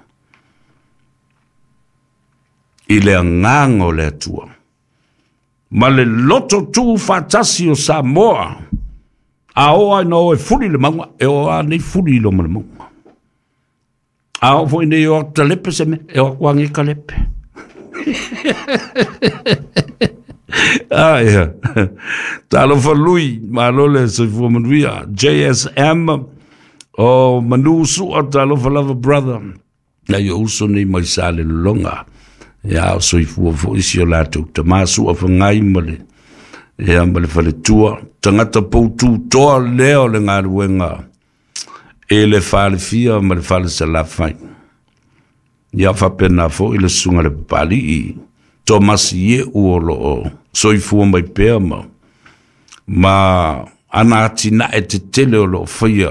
Speaker 1: I le anganga o le atua. Ma le loto tū whātasi o Samoa. A oa ina oe fuli le maunga, e oa nei fuli i loma le maunga. A o foi nei o talepe se me, e o kuangi kalepe. Ah, ia. Talofa lui, malole soifua manuia. J S M, o Manu Sua, talofa lava brother. Na yo uso nei mai sa le longa. Ia o soifua fo isi o latou tamā sua whangai ma le ia ma le faletua. Tangata poutu toa lea o le ngaluenga e le falefia ma le falesalafai. Ia whapena fo i le sunga le papali i Tomasi e u o loo soifua mai pea ma ma ana atina e te tele o loo whaia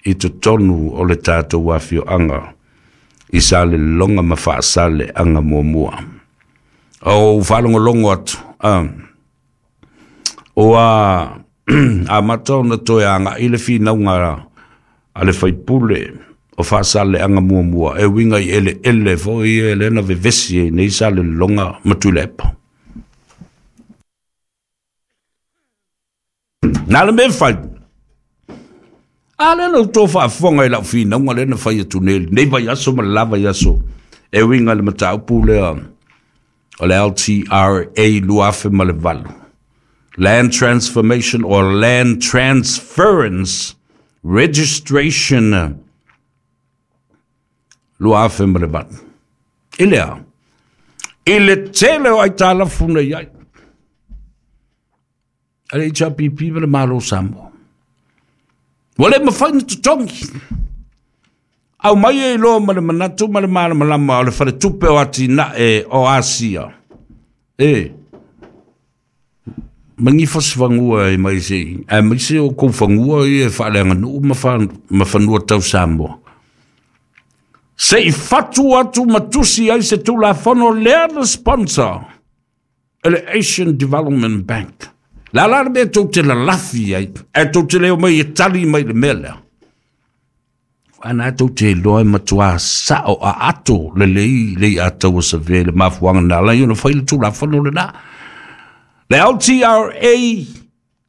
Speaker 1: i te tonu o le tātou wawhio anga i sa le longa ma whaasale anga mua mua. O whalongolongo atu. Um, o a, a mata ona toe anga i le whinaunga a le whaipule o whaasale anga mua mua. E winga i ele ele fo i ele na vevesi e nei sa le longa matulepa. Nā le me whai. A le lau tō whaafonga i lau whinaunga le na whai atu nei. Nei vai aso ma lava i aso. E winga le mataupu lea o le L T R A luafe ma le valu. Land Transformation or Land Transference Registration luafe ma le valu. I lea. I le tele o ai tālafuna iai. A le H R P P ma le malo Samoa. Wale mawhai na tutongi. Au mai e loa ma le manatu ma le malamalama o le whare o ati na e o Asia. E. Mangi fosifangua e mai se. E mai se o koufangua i e whaaleanga nuu ma whanua tau Samoa. Se i fatu atu matusi ai se tulafono lea na sponsor. E le Asian Development Bank. La la mea tau te lalafi ai, e tau te leo mai e tali mai le mea lea. Ana tau te loa e matua sao a ato le lei, lei a tau sa ve le mafuanga nā lai ona whai le tulafono le nā. Le L T R A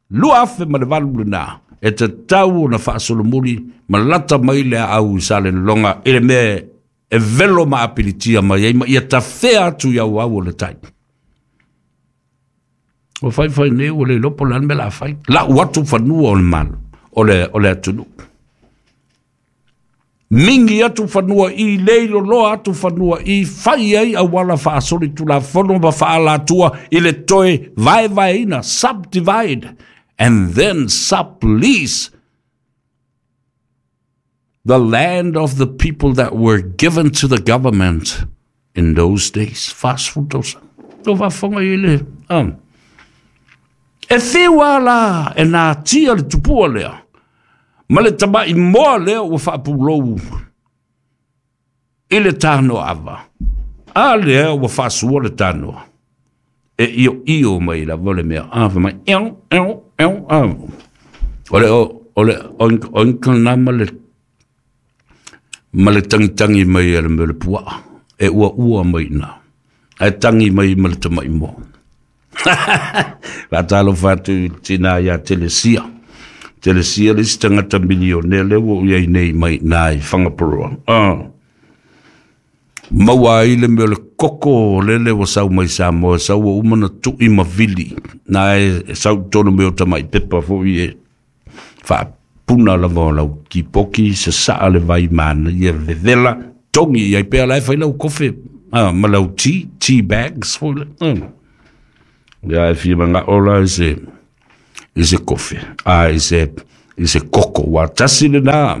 Speaker 1: lua afe ma le valu le nā. E te tau ona whaasolomuli ma lata mai le au i sa le longa e le mea e velo ma apilitia mai ai ma ia tawhea atu i au au o le tai. O whai whai nei o le lopo lan me la whai. La watu whanua o le malo, o le, o le atunu. Mingi atu whanua i leilo loa atu whanua i whai ai a wala whaasori tu la whono ma whaalatua i le toe vae vaeina, subdivide and then sublease the land of the people that were given to the government in those days. Fast food dosa. Tō whafonga i le. Um. E whiua la e nā tia le tupua lea. Ma le tamai moa lea ua whaapulou i le tānoa ava. A lea ua whaasua le tānoa. E io io mai la vole mea. A mai eo, eo, eo, eo. O le, o le, o nā ma le, ma le tangi tangi mai a le mea le pua. E ua ua mai nā. E tangi mai ma le tamai moa. Whātalo whātu tina ia Telesia. Telesia le isi tangata milionea le ua ui nei mai nā i Whangaporoa. Ah. Maua ai le mea le koko lele wa sau mai Samoa, sau wa umana tui mavili. Nā e sau tonu mea o tamai pepa fo i e wha puna lava o lau kipoki se saa le vai mana ia vevela tongi ia pea lai fai lau kofe ah, ma lau tea, tea bags foi le. Mm. Ia e fia manga ola i se i se kofe, ah, i se i se koko wa tasi le na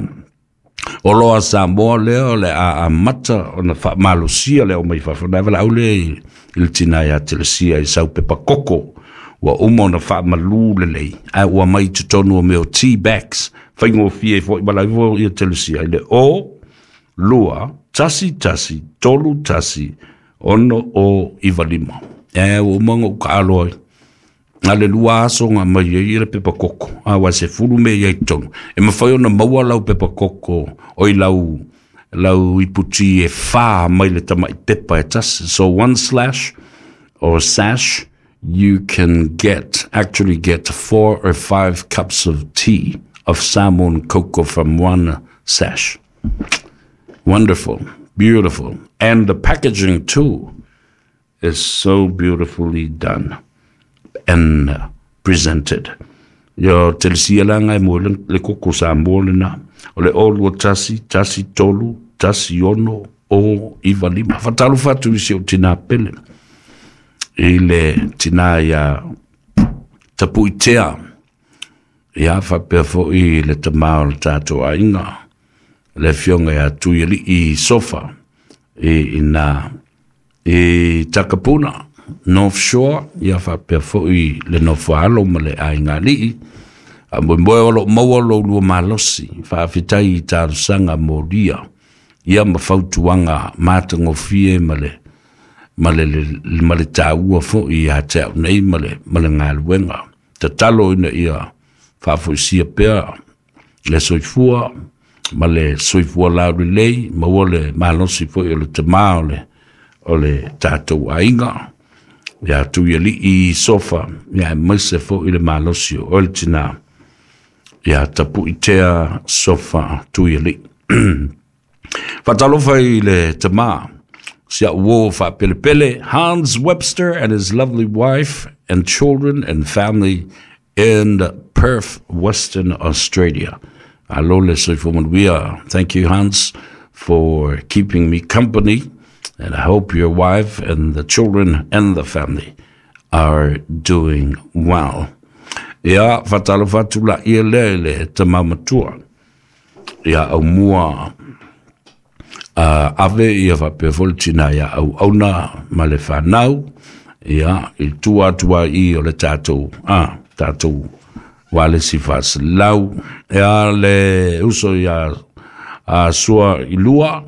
Speaker 1: o loa Samoa lea o le a amata ona faamalosia le aumai fafo na valaau lea i le tina ia Telesia i sau pepa koko ua uma ona faamalu lelei ae ua mai totonu o mea o tea bags faigofie foi ma lau ifo ia Telesia i le o lua tasi tasi tolu tasi ono o iwa lima. E ua uma ona ou kaaloa ai a le lua aso nga mai ai le pepa koko a wa se fulu me ia i totonu e mafai ona maua lau pepa koko o i lau lau iputi e whā mai le tamai pepa e tasi. So one slash or sash, you can get actually get four or five cups of tea of Samoan cocoa from one sash. Wonderful, beautiful. And the packaging too is so beautifully done and uh, presented. Yo Telesia langa e mo le, le koko Samoa lena. O le o lua tasi, tasi tolu, tasi ono, o iwa lima. Whatalu whatu i si o tina pele. I le tina ia tapuitea. Ia whapea foi le tamā o le tātou aiga. Le fionga ia tui i sofa. I ina i Takapuna, North Shore, ia whapea foi le nofoalo ma le aiga alii. A moe moe o lo maua lo lua malosi, whaafetai i talosaga molia. Ia ma fautuaga matagofie ma le ma le, le, ma le tāua foi ia te au nei ma le, ma le galuega. Tatalo ina ia faafoisia pea le soifua ma le soifua laulelei, maua le malosi foi o le tamā o le, o le tātou aiga. Ia tui alii sofa, ia e maise foi le malosi o le tina. Ia tapuitea sofa tui alii. Whatalofa i le tamā, si au uo whaapelepele, Hans Webster and his lovely wife and children and family in Perth, Western Australia. Alo le soifua manuia. Thank you, Hans, for keeping me company. And I hope your wife and the children and the family are doing well. Ia, whatalofa atu la ia lea i le tamamatua. Ia au mua uh, ave ia whapea foi le tina ia au auna ma le whanau. Ia, i tua atua i o le tātou, ah, tātou wale si whaselau. Ia le uso ia a sua i lua.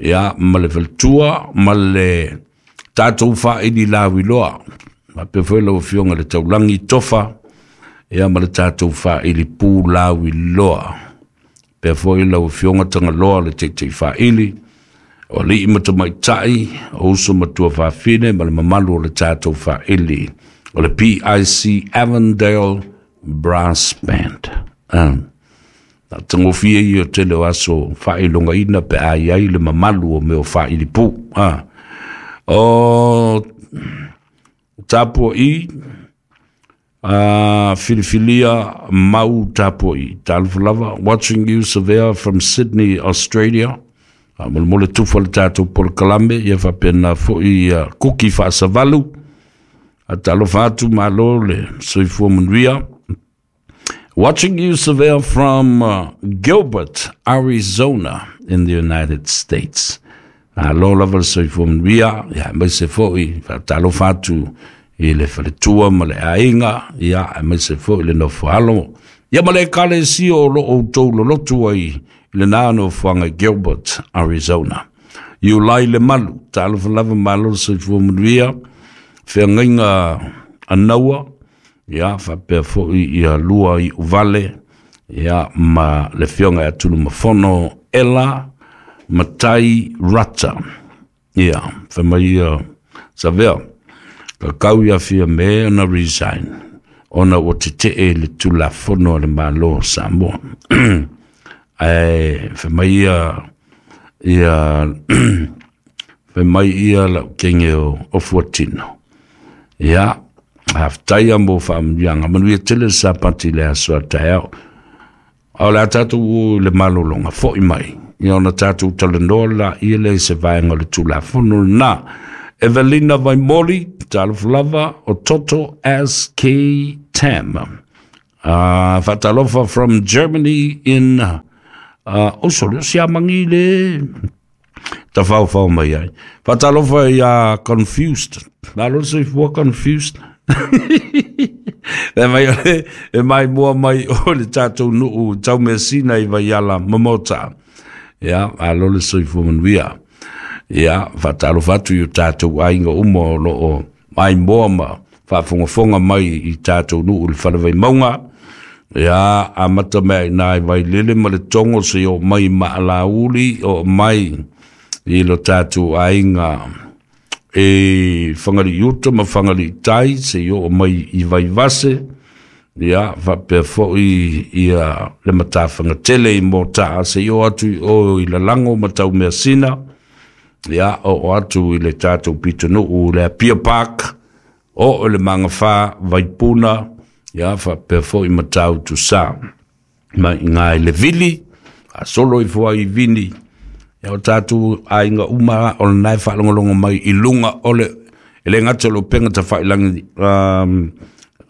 Speaker 1: Ia, ma le faletua, ma le tātou whaili lawi loa. Whapea foi lau afioga le taulangi tofa. Ia, ma le tātou whaili pū lawi loa. Pea foi lau afioga Tagaloa le teitei whaili. O alii ma tamaitai, o uso matua faafine ma le mamalu o le tātou whaili. O le P I C Avondale Brass Band. Um, na tangofia i o tele o aso whailongaina pe ai ai le mamalu o meo whaili pū. Ah. O tāpua i, uh, filifilia mau tāpua i. Talofa lava, watching you Savea from Sydney, Australia. A molemole tufa le tātou polokalame, ia whapena foi uh, kuki whaasavalu. A talofa atu malo le soifua manuia. Watching you Savea from uh, Gilbert, Arizona in the United States. A lo lava le soifua manuia, ia maise foi, whaatalofa atu i le faletua ma le aiga, ia maise foi le nofoalo. Ia ma le ekalesia o lo o tou lolotu ai i le nā nofoaga Gilbert, Arizona. Iulai le malu, talofa lava malo le soifua manuia, feagaiga anaua, ia whapea foi ia lua i uvale, ia ma le fionga ia tulu mafono, Ela Matai Rata. Ia, whamai ia Savea, ka kau ia fia me ona resign, ona o te te e le tulafono le malo Samoa. Ae, whamai ia, ia, whamai ia lau kenge o, o fuatino. Ia, haftaia mo whaamanuiaga. Manuia tele sapati le aso a taeao. A o le a tatou o i le malologa fo'i mai, ia ona tatou talanoa laia lea i se vaega o le Tulafono lenā. Evelina Vaimoli, talofa lava, o Toto S K Tam. Uh, faatalofa from Germany in uh, Osolo, siamagi le tafaofao mai ai. Faatalofa ia Confused. Malo le soifua Confused. E mai ole, e mai mua mai o le tatou nuu Taumeasina i Vaiala Mamota. Ia, malo le soifua manuia. Ia, faatalofa atu i o tatou aiga uma o loo mai moa ma faafogafoga mai i tatou nuu le Falevaimauga. Ia, amata mea ina i Vailele ma le Togo se o mai Maalauli o mai i lo tatou aiga e Whangarei uta ma Whangarei tai se o mai i Vaivase. Ia, faapea fo'i ia le Matafagatele i Motaa se o atu i o i Lalago ma Taumeasina. Ia, o o atu i le tatou pitonuu le Apia Park, o o le Magafa Vaipuna. Ia, faapea fo'i Matautu Sa ma i ngā i le vili, a solo i fua i vini. Ia, o tatou aiga uma o lenā e faalogologo mai i luga o le e le gata o le upega tafailagi um,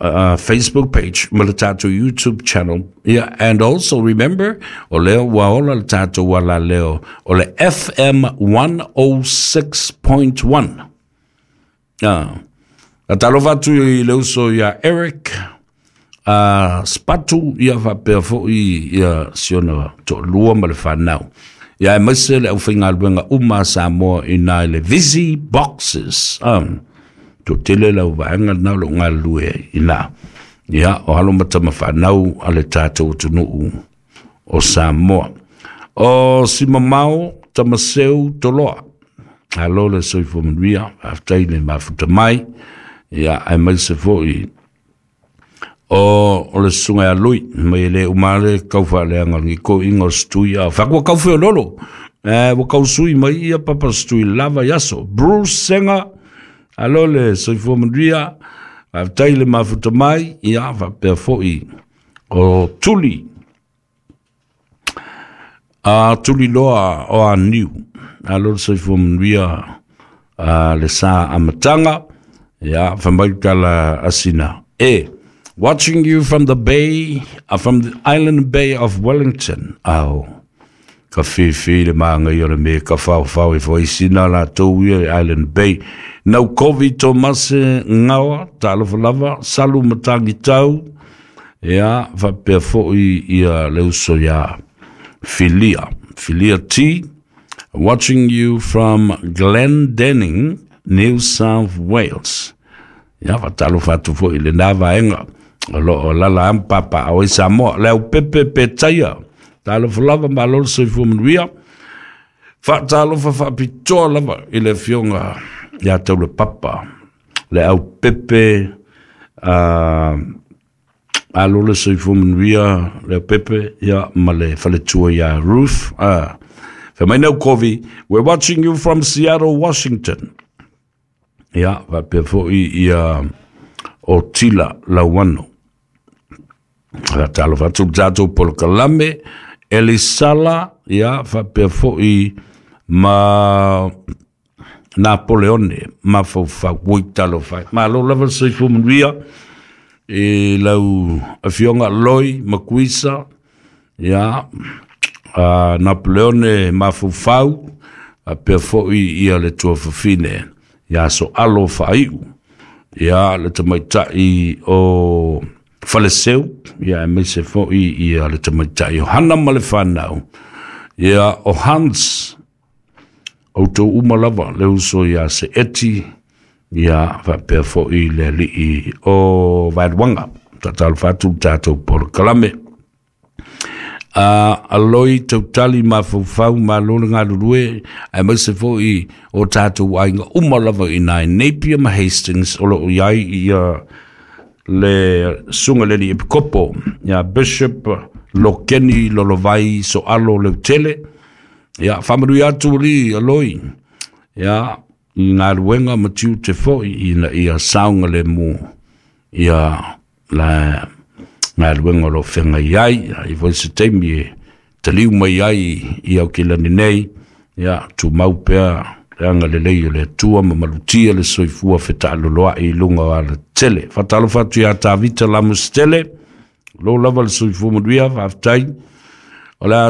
Speaker 1: uh, Facebook page ma le tatou YouTube channel. Yeah, and also remember, o lea ua ola le tatou alaleo o le F M one oh six point one. Ah. Talofa atu i le uso ia Eric uh, Spatu, ia faapea fo'i ia siona to'alua ma le fanau. Ia e maise le aufaigaluega uma a Samoa ina i le Busy Boxes. Um, toatele lau vaega lenā o loo galulue ai ina. Ia, o alo ma tama fanau a le tatou atunuu o Samoa. O Simamao Tamaseu Toloa. Alo le soifua manuia, faafetai le mafuta mai. Ia, ae maise fo'i o o le susuga ia Lui, mai e le uma le kaufaaleaga o le giko'iga o Setui a faku ua kaufeololo. Eh, ua kausui mai ia papa Setui lava i aso. Bruce Senga, alo le soifua manuia, faafetai le mafuta mai. Ia, faapea fo'i o Tuli. A Tuli Loa o Aniu. Alo le soifua manuia a le sa amataga. Ia, famai tala asina. E, watching you from the bay, uh, from the island bay of Wellington. Au, ka whiwhi le maangai o le me ka whau whau e whaisina la tau ia i Island Bay. Nau Kovi Tomase Ngawa, talofa lava, salu matangi tau. Ia, faapea fo'i ia le uso ia Filia. Filia T, watching you from Glendenning, New South Wales. Ia, faatalofa atu fo'i le nā vaega o loo lala ampapa o i Samoa. Le au pepe pe taia, talofa lava malo le soifua manuia. Faatalofa faapitoa lava i le afioga ia Taulapapa. Le au pepe uh, alo le soifua manuia le au pepe ia ma le faletua ia Ruth. Uh, Fai au Kovi, we're watching you from Seattle, Washington. Ia, faapea fo'i ia o Tila Lauano. Faatalofa atu le tatou polokalame, Elisala, ia, faapea fo'i ma Napoleone, mafaufau, ui talofa ai. Malo lava le soifua manuia i lau afioga Loi Makuisa, ia, uh, Napoleone mafaufau, faapea fo'i ia le tuafafine ia so alo faaiu. Ia, le tamaitai o Faleseu, ia e maise fo'i ia le tamaitai o Hana ma le fanau. Ia, o Hans, o tau uma lava le uso ia se eti, ia faapea fo'i le alii o Vaeluaga. Tatalofa atu le tatou polokalame. Uh, aloi tautali mafaufau malo le galulue, ae maise fo'i o tatou aiga uma lava ina i Napier ma Hastings o loo iai ia le susuga le alii epikopo ia Bishop Lokeni Lolovai Soalo Leutele. Ia, faamanuia atu alii aloi, ia, i galuega ma tiute fo'i ina ia saogalemu ia la galuega o lo o feagai ai. Ai foi se taimi e taliu mai ai i Aukilani nei, ia tumau pea le agalelei o le Atua ma malutia le soifua fetaaloloai i luga o alatele. Faatalofa atu ia Tavita Lamositele, lo lava le soifua manuia, faafetai. O le a